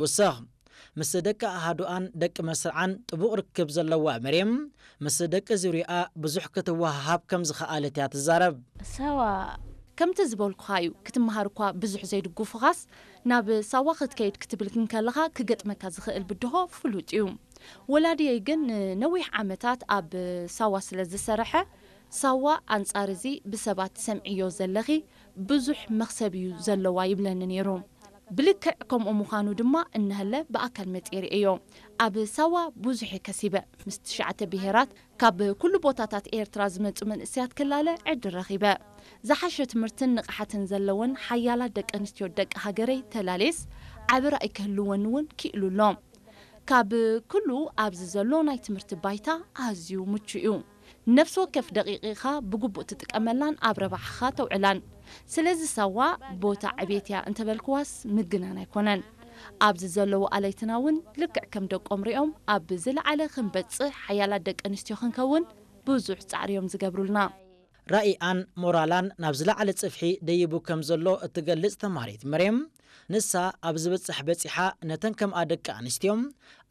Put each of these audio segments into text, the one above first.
ትውስኽ። ምስ ደቂ ኣሃዱኣን ደቂ መስርዓን ጥቡቕ ርክብ ዘለዋ መርየም፣ ምስ ደቂ ዙርያኣ ብዙሕ ክትወሃሃብ ከም ዝኸኣለት እያ ትዛረብ። ሳዋ ከምቲ ዝበልኩኻ እዩ፣ ክትመሃር እኳ ብዙሕ ዘይድግፉኻስ፣ ናብ ሳዋ ክትከይድ ክትብል እንከለኻ ክገጥመካ ዝኽእል ብድሆ ፍሉጥ እዩ። ወላድየይ ግን ንነዊሕ ዓመታት ኣብ ሳዋ ስለ ዝሰረሐ፣ ሳዋ ኣንጻር እዚ ብሰባት ትሰምዕዮ ዘለኺ ብዙሕ መኽሰብ እዩ ዘለዋ ይብለኒ ነይሩ። ብልክዕ ከምኡ ምዃኑ ድማ እነሀለ ብኣካል መጺኤ ርእየዮ። ኣብ ሳዋ ብዙሕ እየ ከሲበ። ምስ ትሽዓተ ብሄራት ካብ ኩሉ ቦታታት ኤርትራ ዝመጹ መንእሰያት ክላለ ዕድል ረኺበ። ዝሓሸ ትምህርትን ንቕሓትን ዘለወን ሓያላት ደቂ ኣንስትዮ ደቂ ሃገረይ ተላሌስ ዓቢ ራእይ ክህልወኒ እውን ክኢሉ ኣሎ። ካብ ኩሉ ኣብዚ ዘሎ ናይ ትምህርቲ ባይታ ኣዝዩ ምቹእ እዩ። ነፍሲ ወከፍ ደቂቕኻ ብግቡእ ትጥቀመላን ኣብ ረብሓኻ ተውዕላን። ስለዚ ሳዋ ቦታ ዕቤት እያ እንተበልክዋስ ምግናን ኣይኮነን። ኣብዚ ዘለዉ ኣለይትና እውን ልክዕ ከም ደቆም ሪኦም ኣብ ዝለዓለ ክንበጽሕ ሓያላት ደቂ ኣንስትዮ ክንከውን ብዙሕ ጻዕሪ እዮም ዝገብሩልና። ራኢኣን ሞራላን ናብ ዝለዓለ ጽፍሒ ደይቡ ከም ዘሎ እትገልጽ ተማሃሪት መርየም፣ ንሳ ኣብ ዝበጽሕ በጺሓ ነተን ከምኣ ደቂ ኣንስትዮ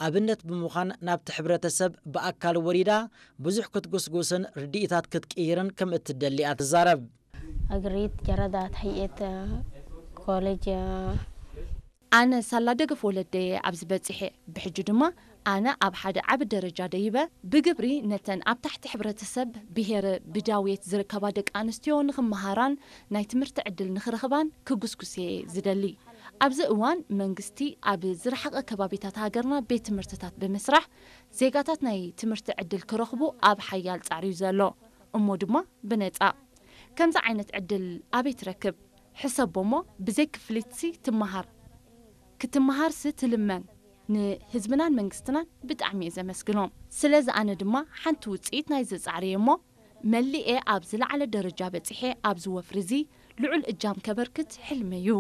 ኣብነት ብምዃን ናብቲ ሕብረተሰብ ብኣካል ወሪዳ ብዙሕ ክትጉስጉስን ርድኢታት ክትቅይርን ከም እትደሊ እያ ትዛረብ። ኣግሪት ጀረዳት ሕየት ኮሌጅ ኣነ ሳላ ደገፍ ወለደየ ኣብዚ በጺሐ። ብሕጂ ድማ ኣነ ኣብ ሓደ ዓቢ ደረጃ ደይበ ብግብሪ ነተን ኣብ ታሕቲ ሕብረተሰብ ብሄር ብዳውየት ዝርከባ ደቂ ኣንስትዮ ንኽመሃራን ናይ ትምህርቲ ዕድል ንኽረኽባን ክጉስጉስ እየ ዝደሊ። ኣብዚ እዋን መንግስቲ ኣብ ዝረሓቐ ከባቢታት ሃገርና ቤት ትምህርትታት ብምስራሕ ዜጋታት ናይ ትምህርቲ ዕድል ክረኽቡ ኣብ ሓያል ጻዕሪ እዩ ዘሎ። እሞ ድማ ብነጻ። ከምዚ ዓይነት ዕድል ኣበይ ትረክብ? ሕሰቦ እሞ ብዘይ ክፍሊትሲ ትመሃር። ክትመሃርሲ ትልመን። ንህዝብናን መንግስትናን ብጣዕሚ እየ ዘመስግኖም። ስለዚ ኣነ ድማ ሓንቲ ውጽኢት ናይዚ ጻዕሪ እየ እሞ መሊኤ ኣብ ዝለዓለ ደረጃ በጺሐ ኣብዚ ወፍሪ እዚ ልዑል እጃም ከበርክት ሕልመይ እዩ።